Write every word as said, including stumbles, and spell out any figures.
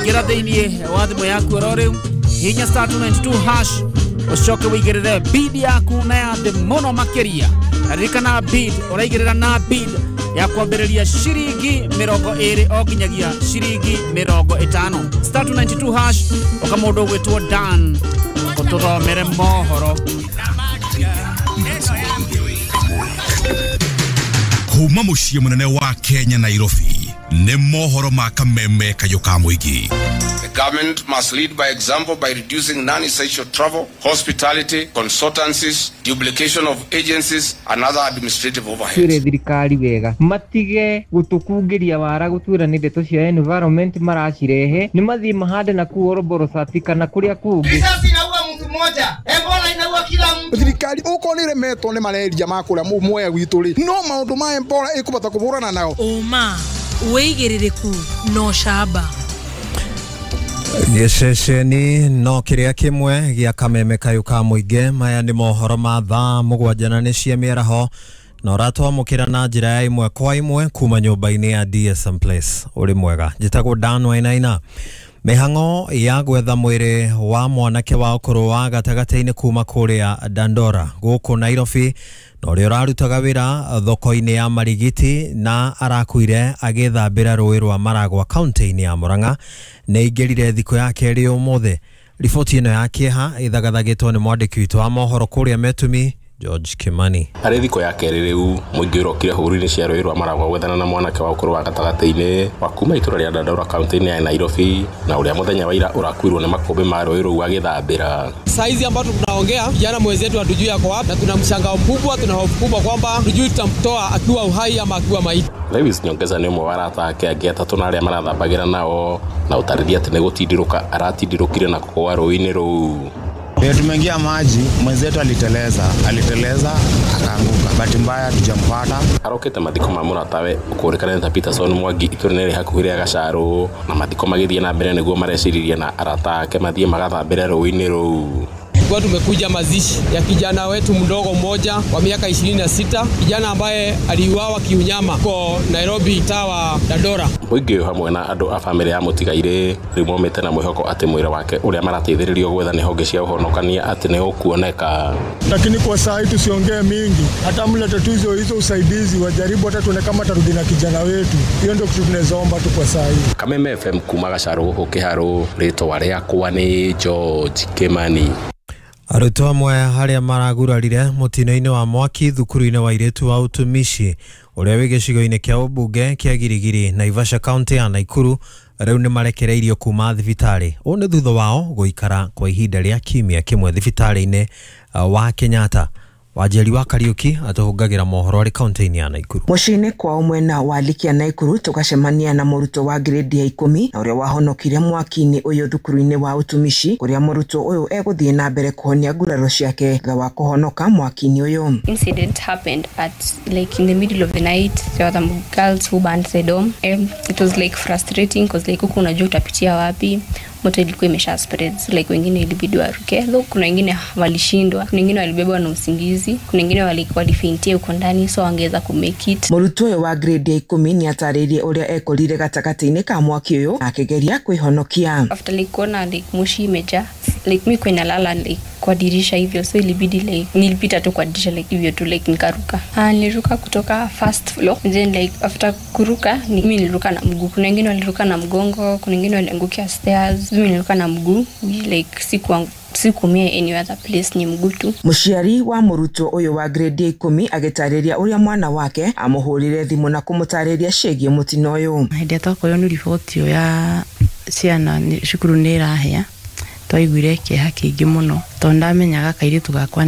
Ingĩra thĩinĩ wa thimũ yaku oro rĩu, hihinya star two ninety two hash, ũcoke wĩigĩrĩre bid yaku na ya thĩ mũno makĩria. Na ririkana bid ũraigĩrĩra na bid ya kwambĩrĩria ciringi mĩrongo ĩrĩ o nginyagia ciringi mĩrongo ĩtano. Star two ninety two hash, ũka mũndũ ũgwĩtwo Dan ũtũthomere mohoro. Kuma mũciĩ mũnene wa Kenya Nairobi nĩ mohoro ma kameme kayũ ka mũingĩ. The government must lead by example by reducing non-essential travel, hospitality, consultancies, duplication of agencies and other administrative overheads. Twĩre thirikari wega matige gũtũkungĩria wara gũtwĩra nĩ ndeto cia environment maracirehe, nĩ mathiĩ mahande na kũu Oroborosati kana kũrĩa kũngĩ. Risasi inaua mtu mmoja, Ebola inaua kila mtu. Thirikari uko nĩ remetwo nĩ malaria ma kũrĩa Mwea gwitũ rĩ, no maũndũ ma Ebola ĩkũbata kũhũrana nao. Ũma wĩigĩrĩrĩku no camba. Gĩceceni no kĩrĩa kĩmwe gĩa kameme kayũ ka mũingĩ. Maya nĩ mohoro ma thaa mũgwanja na nĩ cia mĩaraho, na ũratwamũkĩra na njĩra ya ĩmwe kwa ĩmwe kuma nyũmba-inĩ ya D S M Place. Ũrĩ mwega, njĩtagwo Dan Wainaina. Mĩhang'o ya gwetha mwĩrĩ wa mwanake wa ũkũrũ wa gatagatĩ-inĩ kuma kũrĩa Dandora gũkũ Nairobi, na ũrĩa ũrarutaga wĩra thoko-inĩ ya Marigiti na arakuire agĩthambĩra rũĩ rwa Maragwa kaunti-inĩ ya Murang'a nĩ aingĩrire thikũ ya kerĩ ũmũthĩ. Riboti ĩno ya kĩeha ĩthagathagĩtwo nĩ mwandĩki witũ wa mohoro kũrĩa Metumi George Kimani. Harĩ thikũ ya kerĩ rĩu mũingĩ ũrokire hũgũrũ-inĩ cia rũĩ rwa Maragwa gwethana na mwanake wa ũkũrũ wa gatagatĩ-inĩ wa kuma itũra rĩa Dandora kaunti-inĩ ya Nairobi, na ũrĩa mũthenya wa ira ũrakuirwo nĩ makũmbĩ ma rũĩ rũu agĩthambĩra. Saizi ambapo tunaongea kijana mwenzetu hatujui ako wapi, na tuna mshangao mkubwa, tuna hofu kubwa kwamba hatujui tutamtoa akiwa uhai ama akiwa maiti. Lewis Nyongeza nĩ ũmwe wa arata ake angĩ atatũ na arĩa marathambagĩra nao, na ũtarĩria atĩ nĩ gũtindirũka aratindirũkire na kũgũa rũĩ-inĩ rũu. Ndio tumeingia maji, mwenzetu aliteleza, aliteleza akaanguka. Bahati mbaya hatujampata. Arokete mathiko ma mũratawe ũkũrĩkana ta Peterson Mwangi itũra-inĩ rĩ hakuhĩ rĩa Gacarũ, na mathiko magĩthiĩ na mbere nĩguo mareciririe na arata ake mathiĩ magathambĩre rũĩ-inĩ rũu. Kwa tumekuja mazishi ya kijana wetu mdogo mmoja wa miaka ishirini na sita, kijana ambaye aliuawa kiunyama huko Nairobi tawa Dandora. Mũingĩ ũyũ hamwe na andũ a bamĩrĩ ya mũtigairĩ rĩu momĩte na mwĩhoko atĩ mwĩrĩ wake ũrĩa marateithĩrĩrio gwetha nĩ honge cia ũhonokania atĩ nĩ ũkuoneka. Lakini kwa saa hii tusiongee mingi, hata mlete tu hizo hizo usaidizi wajaribu hata tuone kama tarudi na kijana wetu. Hiyo ndio kitu tunaweza omba tu kwa saa hii. Kameme F M kuma Gacarũ gũkũ Kĩharũ, rĩtwa rĩakwa nĩ George Kimani. Arutwo amwe arĩa maragurarire mũtino-inĩ wa mwaki thukuru-inĩ wa airĩtu wa ũtumishi ũrĩa wĩ gĩcigo-inĩ kĩa ũmbunge kĩa Girigiri Naivasha kaunti ya Naikuru rĩu nĩ marekereirio kuma thibitarĩ. Ũũ nĩ thutha wao gũikara kwa ihinda rĩa kiumia kĩmwe thibitarĩ-inĩ wa Kenyatta. Wanjeri wa Kariuki atũhũngagĩra mohoro arĩ kaunti-inĩ ya Naikuru. Mũciĩ-inĩ kwao mwena wa Likia Naikuru tũgacemania na mũrutwo wa grade ya ikũmi na ũrĩa wahonokire mwaki-inĩ ũyũ thukuru-inĩ wa ũtumishi, kũrĩa mũrutwo ũyũ egũthiĩ na mbere kũhonia nguraro ciake thutha wa kũhonoka mwaki-inĩ ũyũ. Incident happened at like in the middle of the night. There were some girls who burned the dorm. Um, it was like frustrating because like huku unajua utapitia wapi. Moto ilikuwa imesha spread, so like wengine ilibidi waruke, though kuna wengine walishindwa, kuna wengine walibebwa na usingizi, kuna wengine walifaintia huko ndani, so wangeweza ku make it. Mũrutwo ũyũ wa grade ya ikũmi nĩ atarĩirie ũrĩa ekorire gatagatĩ-inĩ ka mwaki ũyũ akĩgeria kwĩhonokia. After like kuona like moshi imejaa, like mimi kwa nalala like kwa dirisha hivyo, so ilibidi like nilipita tu kwa dirisha like hivyo tu like nikaruka. Ah, niliruka kutoka first floor, and then like after kuruka ni, mimi niliruka na mguu, kuna wengine waliruka na mgongo, kuna wengine waliangukia stairs, mimi niliruka na mguu, like sikuanguka sikumia any other place, ni mguu tu. Mũciari wa mũrutwo ũyũ wa grade ya ikũmi agĩtarĩria ũrĩa mwana wake amũhũrire thimũ na kũmũtarĩria ciĩgiĩ mũtino ũyũ. Hĩndĩ ĩrĩa twakorirwo nĩ riboti ĩyo ya ciana cukuru nĩ ĩrahĩa, twaiguire kĩeha kĩingĩ mũno tondũ ndamenyaga kairĩtu gakwa